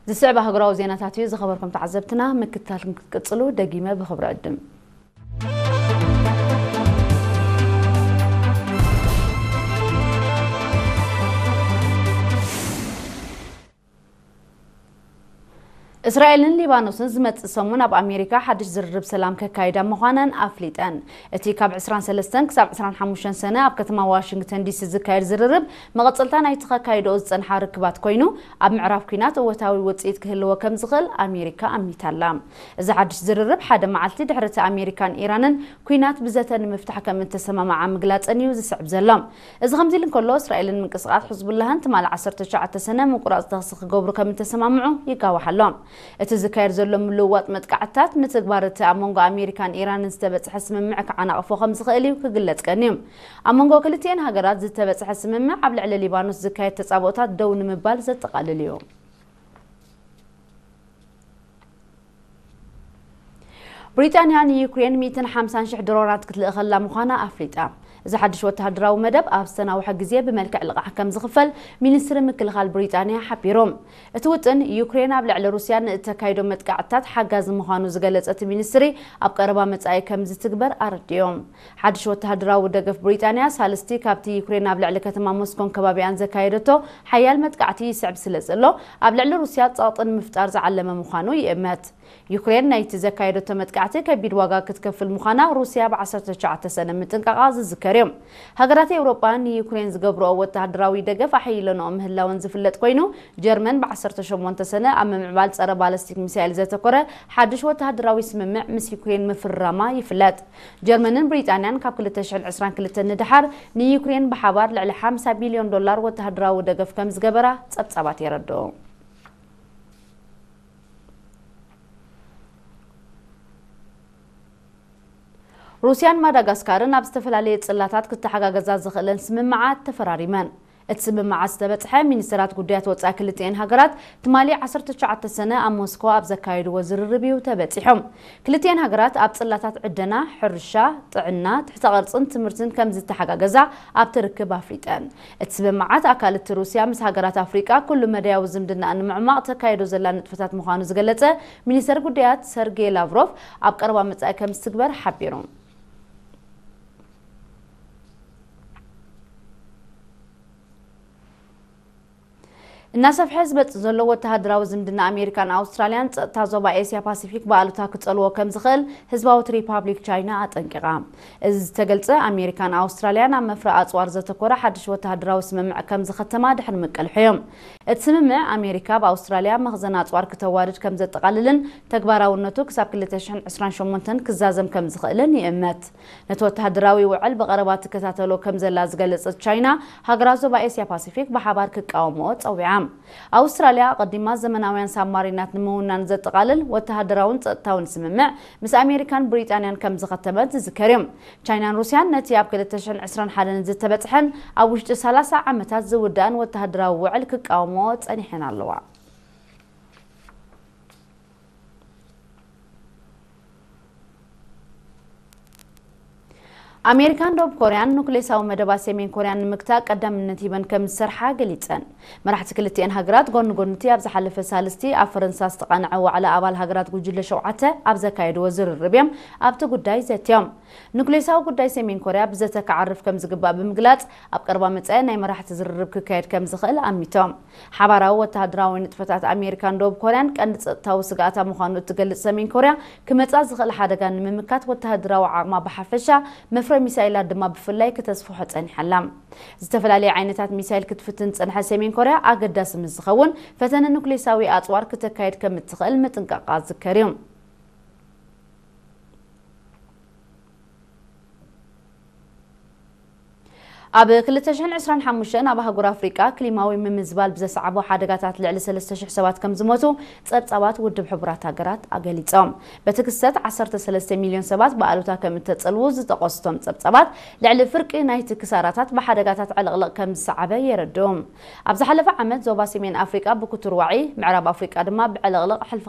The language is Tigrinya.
ዝስዕብ ኣህጉራዊ ዜናታት እዩ። ዝኸበርኩም ተዓዘብትና፣ ምክትታል ክትቅጽሉ ደጊመ ብኽብሪ ዕድም። እስራኤልን ሊባኖስን ዝመጽእ ሰሙን ኣብ ኣሜሪካ ሓድሽ ዝርርብ ሰላም ከካይዳ ምዃነን ኣፍሊጠን። እቲ ካብ ዕስራን ሰለስተን ክሳብ ዕስራን ሓሙሽተን ሰነ ኣብ ከተማ ዋሽንግተን ዲሲ ዝካየድ ዝርርብ መቐጸልታ ናይቲ ከካይድኦ ዝጸንሓ ርክባት ኮይኑ፣ ኣብ ምዕራብ ኲናት እወታዊ ውጽኢት ክህልዎ ከም ዝኽእል ኣሜሪካ ኣሚታላ። እዚ ሓድሽ ዝርርብ ሓደ መዓልቲ ድሕሪ እቲ ኣሜሪካን ኢራንን ኲናት ብዘተ ንምፍታሕ ከም እተሰማማዓ ምግላጸን እዩ ዝስዕብ ዘሎ። እዚ ከምዚ ኢሉ እንከሎ፣ እስራኤልን ምንቅስቓስ ሕዝቡላህን ትማሊ ዓሰርተ ትሽዓተ ሰነ ምቁራጽ ተኽሲ ክገብሩ ከም እተሰማምዑ ይጋዋሕ ኣሎ። እቲ ዝካየድ ዘሎ ምልውዋጥ መጥቃዕትታት ንትግባር እቲ ኣብ መንጎ ኣሜሪካን ኢራንን ዝተበጽሐ ስምምዕ ክዓናቕፎ ከም ዝኽእል እዩ ክግለጽ ቀንዩ። ኣብ መንጎ ክልቲኤን ሃገራት ዝተበጽሐ ስምምዕ ኣብ ልዕሊ ሊባኖስ ዝካየድ ተጻብኦታት ደው ንምባል ዘጠቓልል እዩ። ብሪጣንያ ንዩክሬን ሚእትን ሓምሳን ሽሕ ድሮናት ክትልእኸላ ምዃና ኣፍሊጣ። እዚ ሓድሽ ወተሃደራዊ መደብ ኣብ ዝተናውሐ ግዜ ብመልክዕ ልቓሕ ከም ዝኽፈል ሚኒስትሪ ምክልኻል ብሪጣንያ ሓቢሩ። እቲ ውጥን፣ ዩክሬን ኣብ ልዕሊ ሩስያ ንእተካይዶ መጥቃዕትታት ሓጋዚ ምዃኑ ዝገለጸ እቲ ሚኒስትሪ፣ ኣብ ቀረባ መጻኢ ከም ዝትግበር ኣረዲኡ። ሓድሽ ወተሃደራዊ ደገፍ ብሪጣንያ፣ ሳልስቲ ካብቲ ዩክሬን ኣብ ልዕሊ ከተማ ሞስኮን ከባቢኣን ዘካየደቶ ሓያል መጥቃዕቲ ይስዕብ ስለ ዘሎ፣ ኣብ ልዕሊ ሩስያ ጸቕጢ ንምፍጣር ዝዓለመ ምዃኑ ይእመት። ዩክሬን ናይቲ ዘካየደቶ መጥቃዕቲ ከቢድ ዋጋ ክትከፍል ምዃና ሩስያ ብ ዓሰርተ ትሽዓተ ሰነ ምጥንቃቓ ዝዝከር እዩ። ሃገራት ኤውሮጳ ንዩክሬን ዝገብርኦ ወተሃደራዊ ደገፍ ኣሐይለንኦ ምህላወን ዝፍለጥ ኮይኑ፣ ጀርመን ብ ዓሰርተ ሸሞንተ ሰነ ኣብ ምምዕባል ጸረ ባለስቲክ ሚሳይል ዘተኮረ ሓድሽ ወተሃደራዊ ስምምዕ ምስ ዩክሬን ምፍርራማ ይፍለጥ። ጀርመንን ብሪጣንያን ካብ ክልተ ሽሕን ዕስራን ክልተን ንደሓር ንዩክሬን ብሓባር ልዕሊ ሓምሳ ቢልዮን ዶላር ወተሃደራዊ ደገፍ ከም ዝገበራ ጸብጻባት የረድኡ። ሩስያን ማዳጋስካርን ኣብ ዝተፈላለየ ጽላታት ክተሓጋገዛ ዝኽእለን ስምምዓት ተፈራሪመን። እቲ ስምምዓት ዝተበጽሐ ሚኒስትራት ጉዳያት ወጻኢ ክልቲኤን ሃገራት ትማሊ ዓሰርተ ትሽዓተ ሰነ ኣብ ሞስኮ ኣብ ዘካየድዎ ዝርርብ እዩ ተበጺሑ። ክልቲኤን ሃገራት ኣብ ጽላታት ዕደና፣ ሕርሻ፣ ጥዕና፣ ትሕተ ቅርጽን ትምህርትን ከም ዝተሓጋገዛ ኣብቲ ርክብ ኣፍሊጠን። እቲ ስምምዓት ኣካል እቲ ሩስያ ምስ ሃገራት ኣፍሪቃ ኩሉ መዳያዊ ዝምድና ንምዕማቕ ተካይዶ ዘላ ንጥፈታት ምዃኑ ዝገለጸ ሚኒስተር ጉዳያት ሰርጌይ ላቭሮቭ፣ ኣብ ቀረባ መጻኢ ከም ዝትግበር ሓቢሩ። እናሰፍሐ ዝመጽእ ዘሎ ወተሃደራዊ ዝምድና ኣሜሪካን ኣውስትራልያን ጸጥታ ዞባ ኤስያ ፓሲፊክ ብኣሉታ ክጸልዎ ከም ዝኽእል ህዝባዊት ሪፓብሊክ ቻይና ኣጠንቂቓ። እዚ ዝተገልጸ፣ ኣሜሪካን ኣውስትራልያን ኣብ መፍረ ኣጽዋር ዘተኮረ ሓድሽ ወተሃደራዊ ስምምዕ ከም ዝኸተማ ድሕሪ ምቅልሑ እዩ። እቲ ስምምዕ፣ ኣሜሪካ ኣብ ኣውስትራልያ መኽዘን ኣጽዋር ክተዋርድ ከም ዘጠቓልልን ተግባራውነቱ ክሳብ ክልተ ሽሕን ዕስራን ሸሞንተን ክዛዘም ከም ዝኽእልን ይእመት። ነቲ ወተሃደራዊ ውዕል ብቐረባ ትከታተሎ ከም ዘላ ዝገለጸት ቻይና፣ ሃገራት ዞባ ኤስያ ፓሲፊክ ብሓባር ክቃወምኦ ጸዊዓ። ኣውስትራልያ ኣቐዲማ ዘመናውያን ሳብማሪናት ንምውናን ዘጠቓልል ወተሃደራውን ጸጥታውን ስምምዕ ምስ ኣሜሪካን ብሪጣንያን ከም ዝኸተመት ዝዝከር እዩ። ቻይናን ሩስያን ነቲ ኣብ ክልተ ሽሕን ዕስራን ሓደን ዝተበጽሐን ኣብ ውሽጢ ሰላሳ ዓመታት ዝውዳእን ወተሃደራዊ ውዕል ክቃወምኦ ጸኒሐን ኣለዋ። ኣሜሪካን ደቡብ ኮርያን ኑክሌሳዊ መደባት ሰሜን ኮርያን ንምግታእ ቀዳምነት ሂበን ከም ዝሰርሓ ገሊጸን። መራሕቲ ክልቲኤን ሃገራት ጎኒ ጎኒ እቲ ኣብ ዝሓለፈ ሳልስቲ ኣብ ፈረንሳ ዝተቓንዐ ዋዕላ ኣባል ሃገራት ጉጅለ ሸውዓተ ኣብ ዘካየድዎ ዝርርብ እዮም ኣብቲ ጉዳይ ዘትዮም። ኑክሌሳዊ ጉዳይ ሰሜን ኮርያ ብዘተ ክዓርፍ ከም ዝግባእ ብምግላጽ፣ ኣብ ቀረባ መጻኢ ናይ መራሕቲ ዝርርብ ክካየድ ከም ዝኽእል ኣሚቶም። ሓባራዊ ወተሃደራዊ ንጥፈታት ኣሜሪካን ደቡብ ኮርያን ቀንዲ ጸጥታዊ ስግኣታ ምዃኑ እትገልጽ ሰሜን ኮርያ፣ ክመጻ ዝኽእል ሓደጋ ንምምካት ወተሃደራዊ ዓቕማ ብሓፈሻ፣ መፍረ ሚሳይላት ድማ ብፍላይ ክተስፍሖ ጸኒሓ ኣላ። ዝተፈላለየ ዓይነታት ሚሳይል ክትፍትን ዝጸንሐት ሰሜን ኮርያ፣ ኣገዳሲ ምስ ዝኸውን፣ ፈተነ ኑክሌሳዊ ኣጽዋር ክተካይድ ከም እትኽእል ምጥንቃቓ ዝዝከር እዩ። ኣብ ክልተ ሽሕን ዕስራን ሓሙሽተን ኣብ ኣህጉር ኣፍሪቃ ክሊማዊ ምምዝባል ብዘስዓቦ ሓደጋታት ልዕሊ ሰለስተ ሽሕ ሰባት ከም ዝሞቱ ጸብጻባት ውድብ ሕቡራት ሃገራት ኣገሊጾም። በቲ ክስተት ዓሰርተ ሰለስተ ሚልዮን ሰባት ብኣሉታ ከም እተጸልዉ ዝጠቐሱ እቶም ጸብጻባት፣ ልዕሊ ፍርቂ ናይቲ ክሳራታት ብሓደጋታት ዕልቕልቕ ከም ዝሰዓበ የረድኡ። ኣብ ዝሓለፈ ዓመት ዞባ ሰሜን ኣፍሪቃ ብክቱር ዋዒ፣ ምዕራብ ኣፍሪቃ ድማ ብዕልቕልቕ ሕልፊ